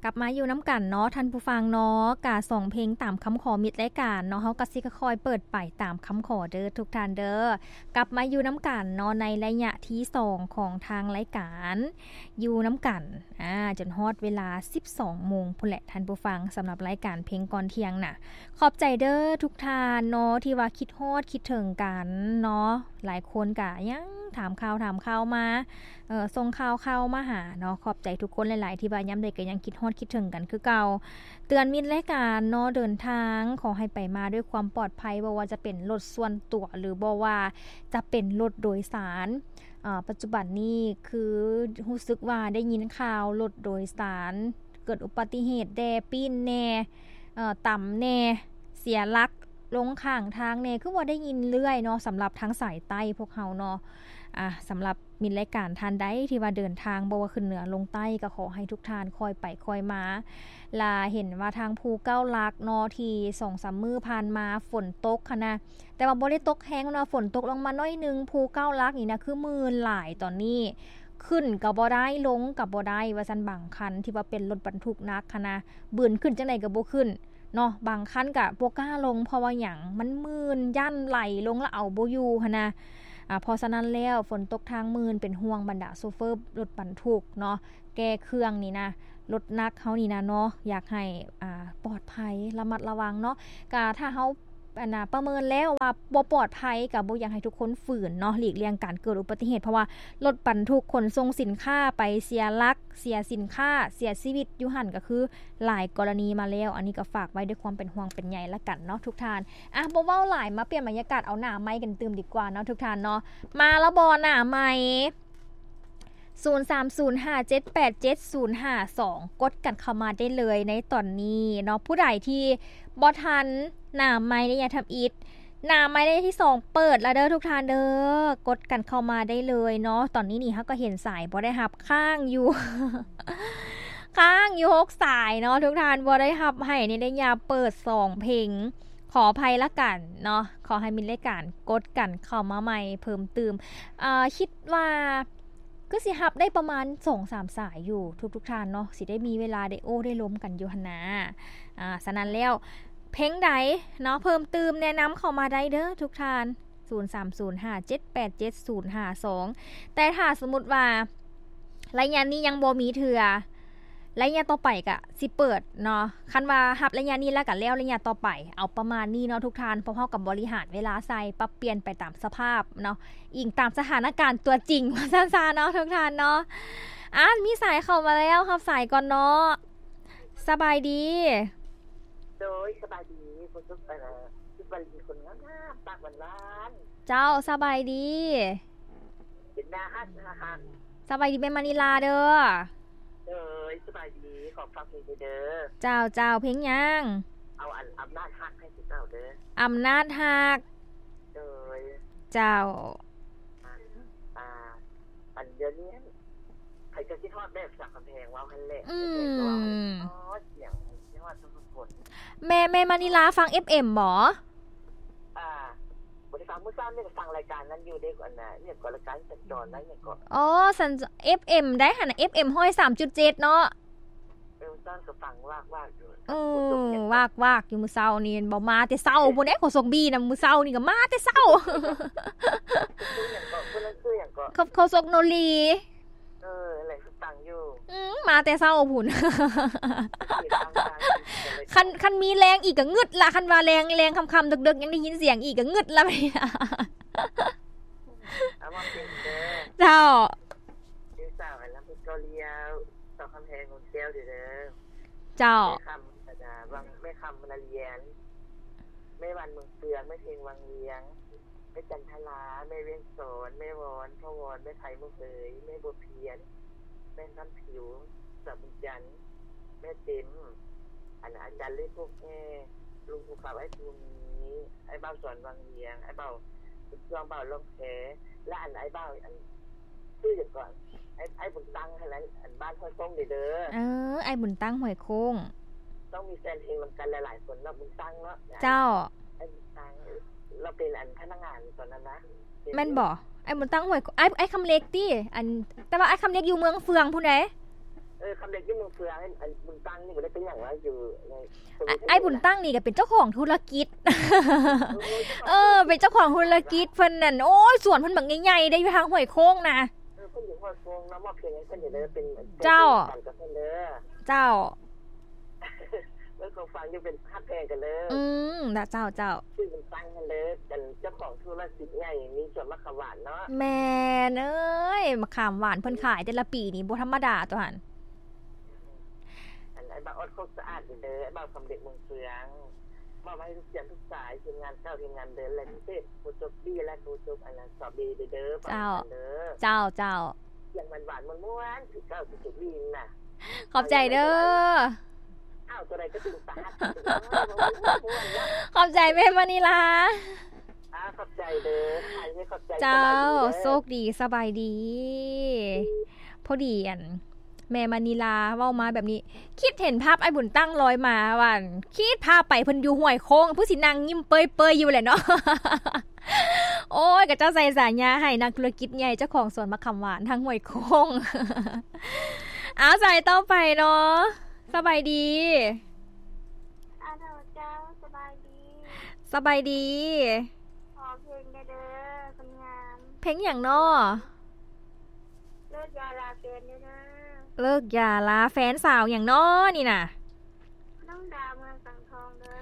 ກັບມາຢູ່ນຳກັນເນາະທ່ານຜູ້ຟັງເນາະ, ກະສອງເພງຕາມຄຳຂໍມິດລາຍການເນາະ, ເຮົາກະຊິຄ່ອຍໆເປີດໄປຕາມຄຳຂໍເດີທຸກທ່ານເດີ. ກັບມາຢູ່ນຳກັນເນາະ ໃນໄລຍະທີສອງຂອງທາງລາຍການ ຢູ່ນຳກັນ ອາ ຈົນຮອດເວລາສິບສອງໂມງພຸ້ນແຫຼະທ່ານຜູ້ຟັງ, ສຳລັບລາຍການເພງກ່ອນທ່ຽງນະ. ຂອບໃຈເດີທຸກທ່ານເນາະ ທີ່ວ່າຄິດຮອດຄິດເຖິງກັນເນາະ, ຫຼາຍຄົນກະຍັງຖາມຂ່າວຖາມຂ່າວມາ ເອີ ສົ່ງຂ່າວເຂົ້າມາຫາເນາະ. ຂອບໃຈທຸກຄົນຫຼາຍໆ ທີ່ວ່າຍາມໃດກໍຍັງຄິດຮອດຄິດເຖິງກັນຄືເກົ່າ. ເຕືອນມິດລາຍການເນາະ ເດີນທາງຂໍໃຫ້ໄປມາດ້ວຍຄວາມປອດໄພ, ບໍ່ວ່າຈະເປັນລົດສ່ວນຕົວ ຫຼື ບໍ່ວ່າຈະເປັນລົດໂດຍສານ. ອາ ປັດຈຸບັນນີ້ຄືຮູ້ສຶກວ່າໄດ້ຍິນຂ່າວລົດໂດຍສານເກີດອຸບັດຕິເຫດແດ່, ປີ້ນແດ່, ເອີ ຕຳແດ່, ເສຍຫຼັກລົງຂ້າງທາງແດ່, ຄືວ່າໄດ້ຍິນເລື້ອຍເນາະ ສຳລັບທາງສາຍໃຕ້ພວກເຮົາເນາະ. ອາ ສຳລັບມິດລາຍການທ່ານໃດທີ່ວ່າເດີນທາງ ບໍ່ວ່າຂຶ້ນເໜືອລົງໃຕ້ ກໍຂໍໃຫ້ທຸກທ່ານຄ່ອຍໄປຄ່ອຍມາ. ລະເຫັນວ່າທາງພູເກົ້າຫຼັກເນາະ ທີ່ສອງສາມມື້ຜ່ານມາຝົນຕົກຫັ້ນນະ, ແຕ່ວ່າບໍ່ໄດ້ຕົກແຮງເນາະ, ຝົນຕົກລົງມາໜ້ອຍໜຶ່ງ. ພູເກົ້າຫຼັກນີ້ນະ ຄືມື່ນຫຼາຍຕອນນີ້, ຂຶ້ນກໍບໍ່ໄດ້ ລົງກໍບໍ່ໄດ້ວ່າຊັ້ນ. ບາງຄັນທີ່ວ່າເປັນລົດບັນທຸກໜັກຫັ້ນນະ ບືນຂຶ້ນຈັ່ງໃດກໍບໍ່ຂຶ້ນເນາະ, ບາງຄັນກໍບໍ່ກ້າລົງ. ເພາະວ່າຫຍັງ? ມັນມື່ນ, ຢ້ານໄຫຼລົງແລ້ວເອົາບໍ່ຢູ່ຫັ້ນນະ. ອາ ເພາະສະນັ້ນແລ້ວ ຝົນຕົກທາງມື່ນ ເປັນຫ່ວງບັນດາໂຊເຟີລົດບັນທຸກເນາະ, ແກ່ເຄື່ອງນີ້ນະ, ລົດໜັກເຮົານີ້ນະເນາະ, ຢາກໃຫ້ ອາ ປອດໄພ ລະມັດລະວັງເນາະ. ກະຖ້າເຮົາ ອັນນະ ປະເມີນແລ້ວວ່າບໍ່ປອດໄພ ກະບໍ່ຢາກໃຫ້ທຸກຄົນຝືນເນາະ, ຫຼີກລ່ຽງການເກີດອຸບັດຕິເຫດ, ເພາະວ່າລົດບັນທຸກຂົນສົ່ງສິນຄ້າໄປເສຍຫຼັກ, ເສຍສິນຄ້າ, ເສຍຊີວິດຢູ່ຫັ້ນ ກະຄືຫຼາຍກໍລະນີມາແລ້ວ. ອັນນີ້ກໍຝາກໄວ້ດ້ວຍຄວາມເປັນຫ່ວງເປັນໃຍລະກັນເນາະທຸກທ່ານ. ອະ ບໍ່ເວົ້າຫຼາຍ, ມາປ່ຽນບັນຍາກາດເອົາໜ້າໄມກັນຕື່ມດີກວ່າເນາະທຸກທ່ານເນາະ. ມາລະບໍ່ໜ້າໄມ? ສູນສາມສູນຫ້າເຈັດແປດເຈັດສູນຫ້າສອງ ກົດກັນເຂົ້າມາໄດ້ເລີຍໃນຕອນນີ້ເນາະ. ຜູ້ໃດທີ່ບໍ່ທັນໜ້າໄມໄລຍະທຳອິດ, ໜ້າໄມໄລຍະທີສອງເປີດລະເດີທຸກທ່ານເດີ, ກົດກັນເຂົ້າມາໄດ້ເລີຍເນາະ. ຕອນນີ້ນີ້ເຮົາກໍເຫັນສາຍບໍ່ໄດ້ຮັບຄ້າງຢູ່ ຄ້າງຢູ່ຫົກສາຍເນາະທຸກທ່ານ, ບໍ່ໄດ້ຮັບໃຫ້ໃນໄລຍະເປີດສອງເພງ, ຂໍອະໄພລະກັນເນາະ. ຂໍໃຫ້ມິດລາຍການກົດກັນເຂົ້າມາໃໝ່ເພີ່ມຕື່ມ. ເອີ ຄິດວ່າ ຄືຊິຮັບໄດ້ປະມານສອງສາມສາຍຢູ່ທຸກໆທ່ານເນາະ, ຊິໄດ້ມີເວລາໄດ້ໂອ້ໄດ້ລົມກັນຢູ່ຫັ້ນນາ. ອາ ສະນັ້ນແລ້ວ ເພງໃດເນາະ ເພີ່ມຕື່ມແນະນຳເຂົ້າມາໄດ້ເດີທຸກທ່ານ, ສູນສາມສູນຫ້າເຈັດແປດເຈັດສູນຫ້າສອງ. ແຕ່ຖ້າສົມມຸດວ່າໄລຍະນີ້ຍັງບໍ່ມີເທື່ອ, ໄລຍະຕໍ່ໄປກະຊິເປີດເນາະ. ຄັນວ່າຮັບໄລຍະນີ້ແລ້ວກະແລ້ວໄລຍະຕໍ່ໄປ, ເອົາປະມານນີ້ເນາະທຸກທ່ານ, ພວກເຮົາກໍບໍລິຫານເວລາໃສ່, ປັບປ່ຽນໄປຕາມສະພາບເນາະ, ອີງຕາມສະຖານະການຕົວຈິງ ວ່າຊັ້ນຊະເນາະທຸກທ່ານເນາະ. ອາ ມີສາຍເຂົ້າມາແລ້ວ, ຮັບສາຍກ່ອນເນາະ. ສະບາຍດີ. ໂດຍ ສະບາຍດີ ຜູ້ສຸກ ເອີ ສຸກວາລີ ຄົນງາມໆ ປາກຫວານໆ. ເຈົ້າ ສະບາຍດີ. ເປັນໜ້າຮັກ ໜ້າຮັກ. ສະບາຍດີແມ່ມະນີລາເດີ. ໂດຍ ສະບາຍດີ ຂໍຟັງເພງເດີ. ເຈົ້າ ເຈົ້າ ເພງຫຍັງ? ເອົາອັນ ອຳນາດຮັກໃຫ້ຄືເກົ່າເດີ. ອຳນາດຮັກ. ໂດຍ. ເຈົ້າ. ອາ ອັນດຽວນີ້ ໃຜຈະຄິດຮອດແບບສາວກຳແພງ ເວົ້າຫັ້ນແຫຼະ. ອືມ ສຽງ ຄິດຮອດທຸກໆຄົນ. ແມ່ ແມ່ມະນີລາຟັງເອັບເອັມບໍ? ອ່າ ບໍ່ໄດ້ຟັງ, ມື້ເຊົ້ານີ້ກໍຟັງລາຍການນັ້ນຢູ່ເດ້, ອັນນ່າ ອີ່ຫຍັງກໍ ລາຍການສັນຈອນນະ ອີ່ຫຍັງກໍ. ອໍ ສັນ ເອັບເອັມໃດຫັ້ນນະ, ເອັບເອັມຮ້ອຍສາມຈຸດເຈັດເນາະ. ເອີ ຕອນກໍຟັງວາກໆຢູ່. ເອີ ວາກໆຢູ່ມື້ເຊົ້ານີ້ ບໍ່ມາແຕ່ເຊົ້າພຸ້ນເດ້. ໂຄສົກບີນຳ ມື້ເຊົ້ານີ້ກໍມາແຕ່ເຊົ້າ. ຊື່ຫຍັງເກາະ? ຜູ້ນັ້ນຊື່ຫຍັງເກາະ? ໂຄ ໂຄສົກໂນລີ. ເອີ ແຫຼະ ຟັງຢູ່. ອືມ ມາແຕ່ເຊົ້າພຸ້ນ. ຄັນ ຄັນມີແລງອີກກໍງຶດລະ, ຄັນວ່າແລງ ແລງຄ່ຳໆ ເດິກໆ ຍັງໄດ້ຍິນສຽງອີກກໍງຶດລະ. ເອົາມາເປັນເດີ. ເຈົ້າ. ເປັນສາວອັນນຳເພັດເກົາຫຼີ ສາວຄຳແພງ ນົນແກ້ວເດີ. ເຈົ້າ. ແມ່ຄຳ ອັນນ່າ ວັງ ແມ່ຄຳ ນາລຽນ, ແມ່ວັນ ເມືອງເຟືອງ, ແມ່ເພັງ ວັງວຽງ, ແມ່ຈັນທະລາ, ແມ່ວຽງສອນ, ແມ່ວອນ ພໍ່ວອນ, ແມ່ໄພ ເມືອງເອີຍ, ແມ່ບົວພຽນ, ແມ່ຄຳຜິວ ສາວບຸນຈັນ, ແມ່ເຕັມ, ອັນ ອາຈານເລກ ພວກແມ່, ລຸງພູຄຳ, ອ້າຍພູມີ, ອ້າຍບ່າວສອນ ວັງວຽງ, ອ້າຍບ່າວບຸນຊ່ວງ, ບ່າວລ່ອງແພ ແລະ ອັນ ອ້າຍບ່າວ ອັນ ຊື່ຫຍັງເກາະ? ອ້າຍ ອ້າຍບຸນຕັ້ງຫັ້ນແຫຼະ, ອັນ ບ້ານຫ້ວຍໂຄ້ງເດີ. ເອີ ອ້າຍບຸນຕັ້ງ ຫ້ວຍໂຄ້ງ. ຕ້ອງມີແຟນເພງນຳກັນຫຼາຍໆຄົນເນາະ, ບຸນຕັ້ງເນາະ. ເຈົ້າ. ອ້າຍບຸນຕັ້ງ ລາວເປັນ ອັນ ພະນັກງານຕອນນັ້ນນະ. ແມ່ນບໍ່? ອ້າຍບຸນຕັ້ງ ຫ້ວຍ ອ້າຍ ອ້າຍຄຳເລັກຕິ? ອັນ ແຕ່ວ່າອ້າຍຄຳເລັກຢູ່ເມືອງເຟືອງພຸ້ນເດ້. ເອີ ຄຳເລັກຢູ່ເມືອງເຟືອງ ອ້າຍບຸນຕັ້ງນີ້ບໍ່ໄດ້ເປັນຫຍັງລະ ຢູ່ໃນ ອ້າຍບຸນຕັ້ງນີ້ກໍເປັນເຈົ້າຂອງທຸລະກິດ ເອີ ເປັນເຈົ້າຂອງທຸລະກິດ ເພິ່ນນັ້ນ ໂອ້ຍ ສວນເພິ່ນບັກໃຫຍ່ໆເດ້ ຢູ່ທາງຫ້ວຍໂຄ້ງນະ ເອີ ເພິ່ນຢູ່ຫ້ວຍໂຄ້ງເນາະ ມອບເພງໃຫ້ເພິ່ນເດີ ເປັນ ເຈົ້າ ເປັນຂວັນກັບເພິ່ນເດີ ເຈົ້າ ເອີ ຂອງຝາກຢູ່ເປັນຮັກແພງກັນເດີ ອືມ ນະ ເຈົ້າ ເຈົ້າ ຊື່ບຸນຕັ້ງຫັ້ນເດີ ເປັນເຈົ້າຂອງທຸລະກິດໃຫຍ່ ມີສວນໝາກຂາມຫວານເນາະ ແມ່ນເອີຍ ໝາກຂາມຫວານເພິ່ນຂາຍແຕ່ລະປີນີ້ບໍ່ທຳມະດາຕົວຫັ້ນ ອັນ ອ້າຍບ່າວອອດໂຄກສະອາດເດີ ອ້າຍບ່າວຄຳເລັກເມືອງເຟືອງ ມອບໃຫ້ທຸກສຽງທຸກສາຍ ທີມງານເກົ່າ ທີມງານເດີ ແລະ ພິເສດ ຜູ້ຈົບບີ ແລະ ຜູ້ຈົບ ອັນນັ້ນ ສອບບີເດີ ເຈົ້າ ເຈົ້າ ເຈົ້າ ສຽງຫວານໆ ມ່ວນໆ ຄືເກົ່າ ຄືຈົບບີນະ ຂອບໃຈເດີ ອ້າວ ຕົວໃດກໍເປັນຕາຮັກ ຂອບໃຈແມ່ມະນີລາ ອ່າ ຂອບໃຈເດີ ຂອບໃຈ ເຈົ້າ ໂຊກດີ ສະບາຍດີ ພໍດີ ອັນ ແມ່ມະນີລາເວົ້າມາແບບນີ້ ຄິດເຫັນພາບອ້າຍບຸນຕັ້ງລອຍມາວ່າ ຄິດພາບໄປເພິ່ນຢູ່ຫ້ວຍໂຄ້ງ ຜູ້ຊິນັ່ງຍິ້ມເປີຍໆຢູ່ແຫຼະເນາະ ໂອ້ຍ ຂະເຈົ້າໃສ່ສາຍາໃຫ້ນັກທຸລະກິດໃຫຍ່ ເຈົ້າຂອງສວນໝາກຂາມຫວານທາງຫ້ວຍໂຄ້ງ ເອົາ ສາຍຕໍ່ໄປເນາະ ສະບາຍດີ ອາໂດ ເຈົ້າ ສະບາຍດີ ສະບາຍດີ ຂໍເພງແດ່ເດີ ຄົນງາມ ເພງຫຍັງເນາະ? ເລີກຢາລາແຟນເດີ ເລີກຢາລາແຟນ ສາວຫຍັງເນາະນີ້ນະ? ນ້ອງດາວເມືອງສັງທອງເດີ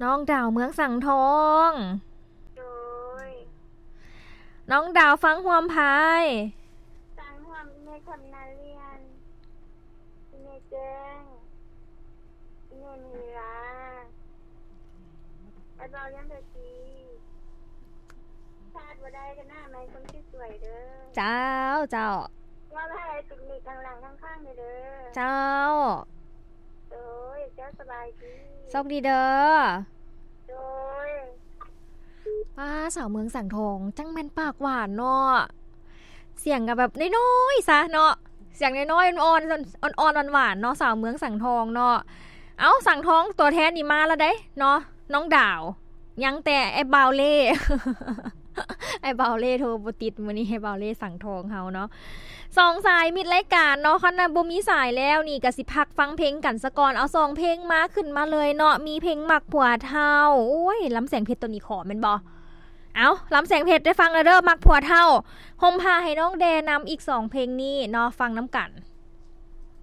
ນ້ອງດາວເມືອງສັງທອງ ໂດຍ ນ້ອງດາວຟັງຮ່ວມໃຜ? ຟັງຮ່ວມແມ່ຄຳນາລຽນ ແມ່ແຈ້ງ ແມ່ມະນີລາ ອ້າຍບ່າວຍັງໄດ້ດີ ຂາດບໍ່ໄດ້ກໍໜ້າໄມ້ຄົນທີ່ສວຍເດີ ເຈົ້າ ເຈົ້າ ວ່າໃຫ້ຕິດໜີ້ທາງຫຼັງທາງຂ້າງເດີ ເຈົ້າ ໂດຍ ເຈົ້າ ສະບາຍດີ ໂຊກດີເດີ ໂດຍ ປ້າ ສາວເມືອງສັງທອງ ຈັ່ງແມ່ນປາກຫວານເນາະ ສຽງກໍແບບນ້ອຍໆຊະເນາະ ສຽງນ້ອຍໆ ອ່ອນໆ ອ່ອນໆ ຫວານໆເນາະ ສາວເມືອງສັງທອງເນາະ ເອົ້າ ສັງທອງ ຕົວແທນນີ້ມາແລ້ວເດ້ເນາະ ນ້ອງດາວ ຍັງແຕ່ອ້າຍບ່າວເລ່ ອ້າຍບ່າວເລ່ໂທບໍ່ຕິດ ມື້ນີ້ອ້າຍບ່າວເລ່ສັງທອງເຮົາເນາະ ສອງສາຍມິດລາຍການເນາະ ຄັນວ່າບໍ່ມີສາຍແລ້ວນີ້ ກະຊິພັກຟັງເພງກັນສາກ່ອນ ເອົາສອງເພງມາ ຂຶ້ນມາເລີຍເນາະ ມີເພງມັກຜົວເຖົ້າ ໂອ້ຍ ລຳແສງເພັດໂຕນີ້ຂໍແມ່ນບໍ່? ເອົ້າ ລຳແສງເພັດໄດ້ຟັງແລ້ວເດີ ມັກຜົວເຖົ້າ ຮົ່ມຜ້າໃຫ້ນ້ອງແດ່ນຳ ອີກສອງເພງນີ້ເນາະ ຟັງນຳກັນ.